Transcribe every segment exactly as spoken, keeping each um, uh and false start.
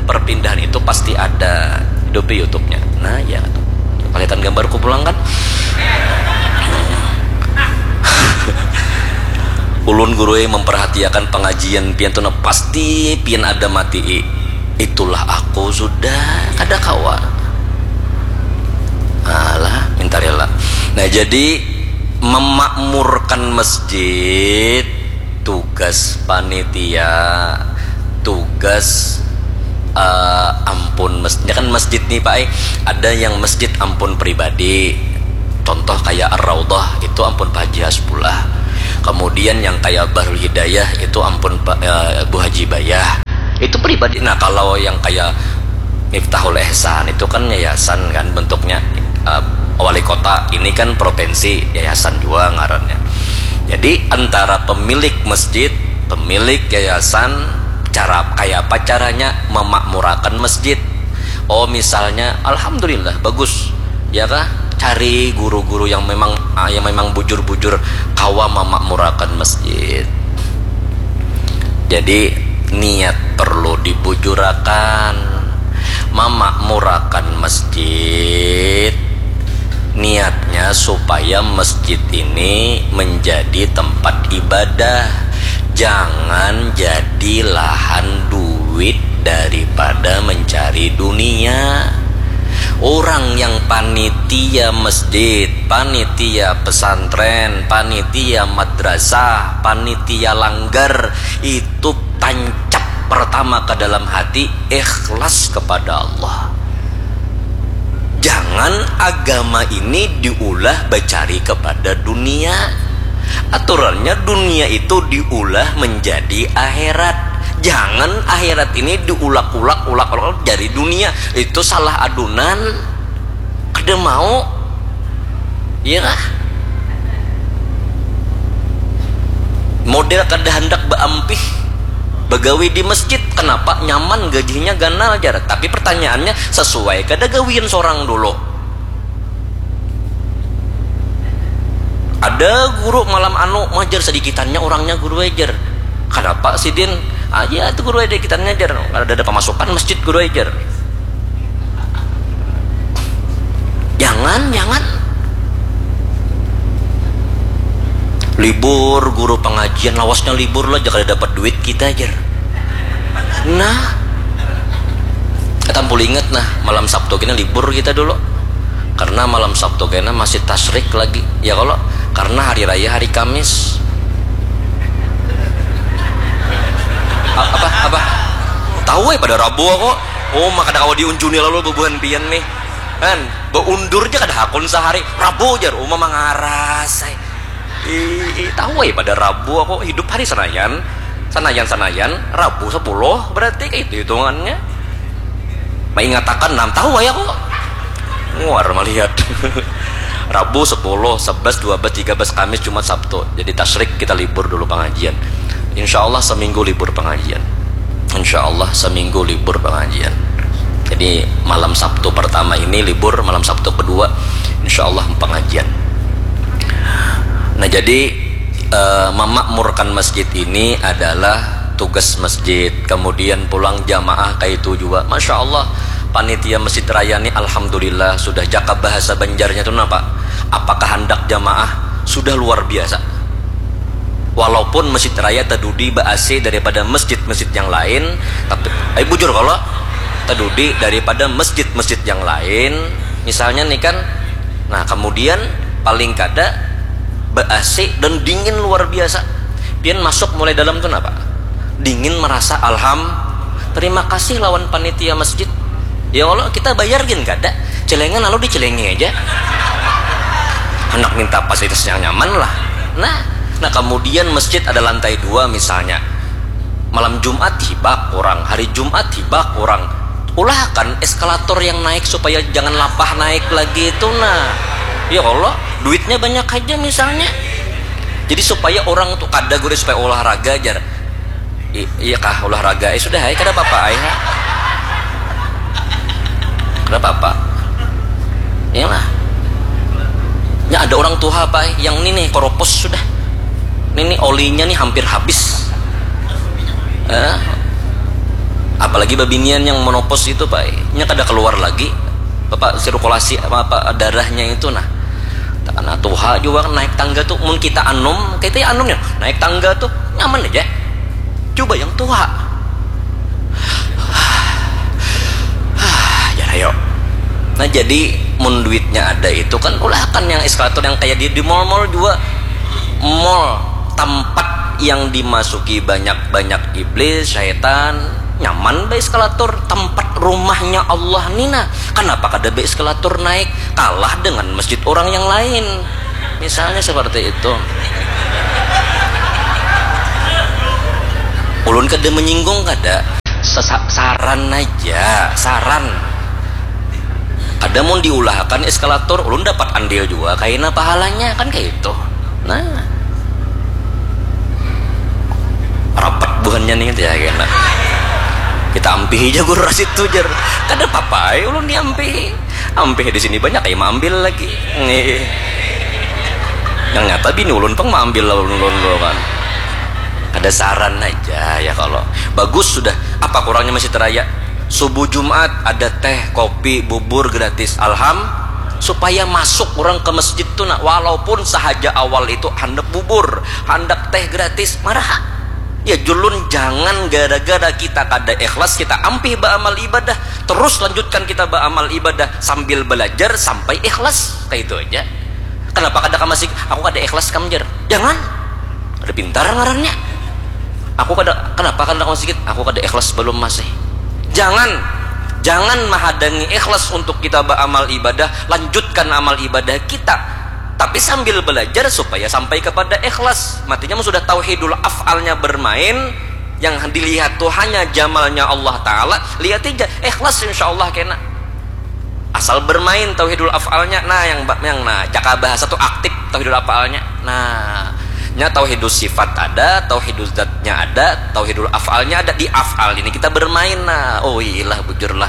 Perpindahan itu pasti ada. Hidupi YouTube-nya. Nah, ya. Kelihatan gambarku pulang kan? Ulun guru memperhatiakan pengajian pian tuh, nah, pasti pian ada mati. Itulah aku sudah kada kawa. Alah, minta rela. Nah, jadi memakmurkan masjid tugas panitia, tugas uh, ampun masjid. Kan masjid nih Pak, eh, ada yang masjid ampun pribadi. Contoh kayak Ar-Raudhah itu ampun Pak Haji Hasbullah. Kemudian yang kayak Bahrul Hidayah itu ampun Pak uh, Bu Haji Bayah. Itu pribadi. Nah, kalau yang kayak Miftahul Ihsan itu kan yayasan kan bentuknya, uh, wali kota, ini kan provinsi, yayasan juga ngarannya. Jadi antara pemilik masjid, pemilik yayasan, cara kayak apa caranya memakmurakan masjid. Oh, misalnya, alhamdulillah, bagus, ya kah? Cari guru-guru yang memang, ah, yang memang bujur-bujur kawa memakmurakan masjid. Jadi niat perlu dibujurakan. Memakmurakan masjid, niatnya supaya masjid ini menjadi tempat ibadah. Jangan jadi lahan duit daripada mencari dunia. Orang yang panitia masjid, panitia pesantren, panitia madrasah, panitia langgar, itu tancap pertama ke dalam hati, ikhlas kepada Allah. Jangan agama ini diulah bacari kepada dunia. Aturannya, dunia itu diulah menjadi akhirat. Jangan akhirat ini diulak-ulak, ulak-ulak jadi dunia. Itu salah adunan. Kada mau. Iya kah? Model kada handak baampih, bagawi di masjid. Kenapa? Nyaman, gajihnya ganal, jar. Tapi pertanyaannya, sesuai kada gawian sorang dulu? Ada guru malam anu majar, sedikitannya orangnya guru ajar. Kenapa sidin? Ah, ya, itu guru ada dikitannya ajar. Kada ada pemasukan masjid guru ajar. Jangan, jangan. Libur guru pengajian, lawasnya libur lah, jangan dapat duit kita ajar. Nah, kita boleh ingat, nah, malam Sabtu kita libur kita dulu. Karena malam Sabtu kena masih tasrik lagi, ya kalau, karena hari raya hari Kamis. A- apa apa tahu ya pada Rabu aku. Oh, maka ada kawa diunjuni lalu bubuhan pian nih. Kan, beundur aja kada hakun sehari. Rabu jar uma mangaras. Ih, tahu ya pada Rabu aku hidup hari Senayan. Senayan Senayan Rabu sepuluh berarti kayak itu hitungannya. Maingatakan enam tahu ya kok. Nguar melihat. Rabu sepuluh, sebelas, dua belas, tiga belas, Kamis, Jumat, Sabtu. Jadi tasrik kita libur dulu pengajian. Insya Allah seminggu libur pengajian. Insya Allah seminggu libur pengajian. Jadi malam Sabtu pertama ini libur, malam Sabtu kedua insya Allah pengajian. Nah, jadi eh, memakmurkan masjid ini adalah tugas masjid. Kemudian pulang jamaah kayak itu juga. Masya Allah, panitia Masjid Raya ini alhamdulillah sudah cakap bahasa Banjarnya tuh napa? Apakah hendak jamaah sudah luar biasa. Walaupun Masjid Raya tadudi ba-A C daripada masjid-masjid yang lain, tapi, eh, bujur kalau tadudi daripada masjid-masjid yang lain, misalnya nih kan, nah, kemudian paling kada ba-A C dan dingin luar biasa. Pian masuk mulai dalam tuh napa? Dingin merasa alham. Terima kasih lawan panitia masjid. Ya Allah, kita bayar gin kada. Celengan lalu dicelengi aja. Hendak minta fasilitas yang nyaman lah. Nah, nah kemudian masjid ada lantai dua misalnya. Malam Jumat hibak orang, hari Jumat hibak orang. Ulahakan eskalator yang naik supaya jangan lapah naik lagi itu nah. Ya Allah, duitnya banyak aja misalnya. Jadi supaya orang tuh kada gurih supaya olahraga aja. I- iya kah olahraga? Eh sudah, ay, kada apa-apa, ay, ha? Kada apa-apa. Iyalah. Ya ada orang tua apa, ay, yang ini nih koropos sudah. Ini nih olinya nih hampir habis. Eh? Apalagi babinian yang menopause itu, Pak, nya kada keluar lagi, apa, sirkulasi apa, apa darahnya itu, nah. Takana tuha jua naik tangga tu, mun kita anum, kita anum ya, naik tangga tu nyaman aja. Coba yang tuha. Jar ayo. Nah, jadi mun duitnya ada itu kan, ulahakan yang eskalator yang kayak di, di mall-mall juga. Mall, tempat yang dimasuki banyak-banyak iblis, syaitan, nyaman baeskalator. Tempat rumahnya Allah nina, kenapa kada baeskalator naik? Kalah dengan masjid orang yang lain, misalnya seperti itu. Ulun kada menyinggung, kada. Sesa- saran aja, saran. Kada mun diulahakan eskalator, ulun dapat andil juga kaina pahalanya, kan kayak itu. Nah, rapat buhannya nih, ya kena. Kita ampihi aja guru Rasid tu, jar. Kada apa-apa ai ulun diampihi. Ampih di sini banyak ai maambil lagi. Nih. Yang nyata bini ulun pang maambil lawan ulun tu kan. Kada saran aja ya kalau. Bagus sudah. Apa kurangnya masih teraya? Subuh Jumat ada teh, kopi, bubur gratis. Alham, supaya masuk orang ke masjid tu, nak, walaupun sahaja awal itu handak bubur, handak teh gratis, maraha. Ya, julun, jangan gara-gara kita kada ikhlas, kita ampih baamal ibadah, terus lanjutkan kita baamal ibadah sambil belajar sampai ikhlas. Kayak itu aja. Kenapa kada ka masjid? Aku kada ikhlas kam, jar. Jangan. Ada pintar ngarannya. Aku kada, kenapa kada ka masjid? Aku kada ikhlas belum masih. Jangan. Jangan menghadangi ikhlas untuk kita beramal ibadah. Lanjutkan amal ibadah kita. Tapi sambil belajar supaya sampai kepada ikhlas. Matinya mun sudah tauhidul af'alnya bermain, yang dilihat tuh hanya jamalnya Allah Ta'ala, lihat aja, ikhlas insya Allah kena. Asal bermain tauhidul af'alnya, nah, yang ba- yang nah, caka bahasa tuh aktif tauhidul af'alnya. Nah, nya tauhidul sifat ada, tauhidul zatnya ada, tauhidul af'alnya ada. Di af'al ini kita bermain. Nah, oh iyalah, bujurlah,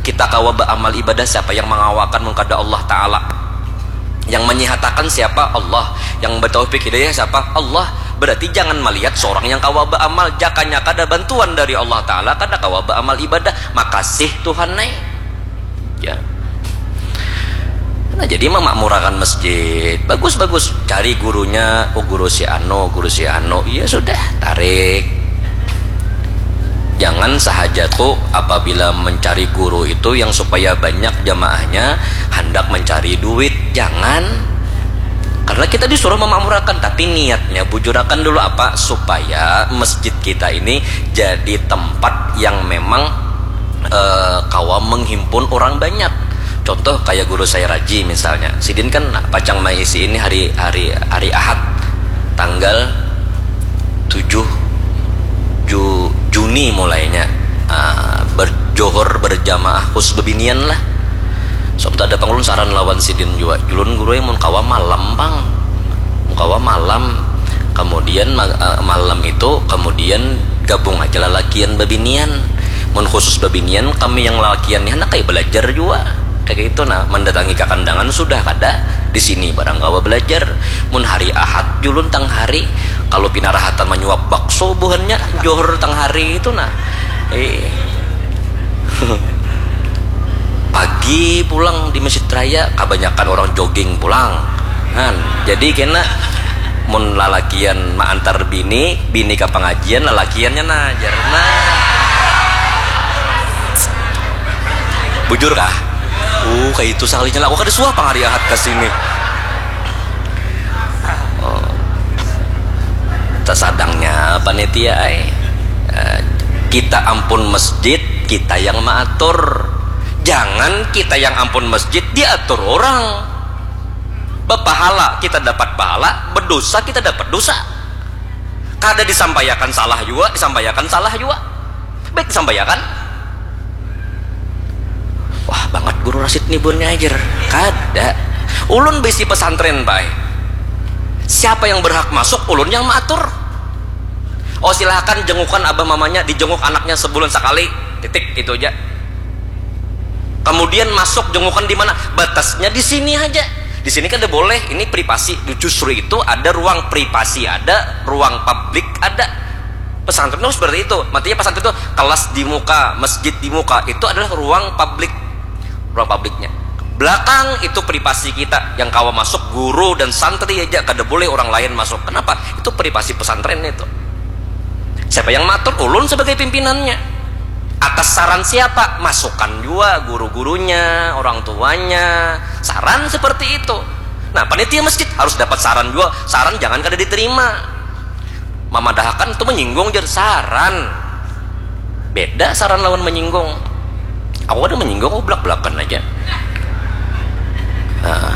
kita kawa beramal ibadah siapa yang mengawakan mun kada Allah Ta'ala? Yang menyihatakan siapa? Allah. Yang bertaufik hidayah siapa? Allah. Berarti jangan melihat seorang yang kawa beramal, jakanya kada bantuan dari Allah Ta'ala, kada kawa beramal ibadah. Makasih Tuhan, nai. Ya. Nah, jadi memakmurakan masjid, bagus-bagus. Cari gurunya, oh, guru si anu, guru si anu. Iya sudah, tarik. Jangan sahaja tuh apabila mencari guru itu yang supaya banyak jamaahnya, hendak mencari duit. Jangan. Karena kita disuruh memakmurakan, tapi niatnya bujurakan dulu apa? Supaya masjid kita ini jadi tempat yang memang eh, kawa menghimpun orang banyak. Contoh kayak guru saya Raji misalnya, sidin kan pacang maisi ini hari hari hari Ahad tanggal tujuh Ju, Juni mulainya, ah, berjohor berjamaah khusus bebinian lah. Sebab ada pangulun saran lawan sidin jua, julun guru yang mun kawa malam pang, mun kawa malam, kemudian ma- eh, malam itu kemudian gabung aja lalakian bebinian. Mun khusus bebinian, kami yang lalakian ni handak ai belajar jua. Kayak gitu nah, mendatangi kakandangan sudah kada, di sini barang kawa belajar. Mun hari Ahad julun tang hari, kalau pina rahatan manyuap bakso buhannya, johor tang hari itu nah. Eh. Pagi pulang di Masjid Raya, kabanyakan orang jogging pulang. Kan, jadi kena mun lalakian maantar bini, bini ka pangajian, lalakiannya nah, jar. Nah. Bujur kah? Uh, kayak itu sakalinya lah. Aku kada suah pang hari Ahad ke sini. Oh. Tasadangnya panitia ai. Eh, kita ampun masjid, kita yang maatur. Jangan kita yang ampun masjid diatur orang. Bepahala kita dapat pahala, berdosa kita dapat dosa. Kada disampaiakan salah jua, disampaiakan salah jua. Baik disampaiakan. Wah, bangat guru Rasid ni bunnya ajar. Kada. Ulun bisi pesantren, bay. Siapa yang berhak masuk, ulun yang maatur. Oh, silahkan jengukan abah mamanya, dijenguk anaknya sebulan sekali. Titik, itu aja. Kemudian masuk jengukan di mana? Batasnya di sini aja. Di sini kan ada boleh, ini privasi. Justru itu ada ruang privasi, ada ruang publik, ada. Pesantren itu seperti itu. Maksudnya pesantren itu kelas di muka, masjid di muka, itu adalah ruang publik, ruang publiknya. Belakang itu privasi kita, yang kawa masuk guru dan santri aja, kada boleh orang lain masuk. Kenapa? Itu privasi pesantren itu. Siapa yang matur? Ulun sebagai pimpinannya. Atas saran siapa? Masukan juga guru-gurunya, orang tuanya. Saran seperti itu. Nah, panitia masjid harus dapat saran juga. Saran jangan kada diterima. Mamadahakan itu menyinggung, jadi saran. Beda saran lawan menyinggung. Aku kada menyinggung, aku belak-belakan aja. Nah,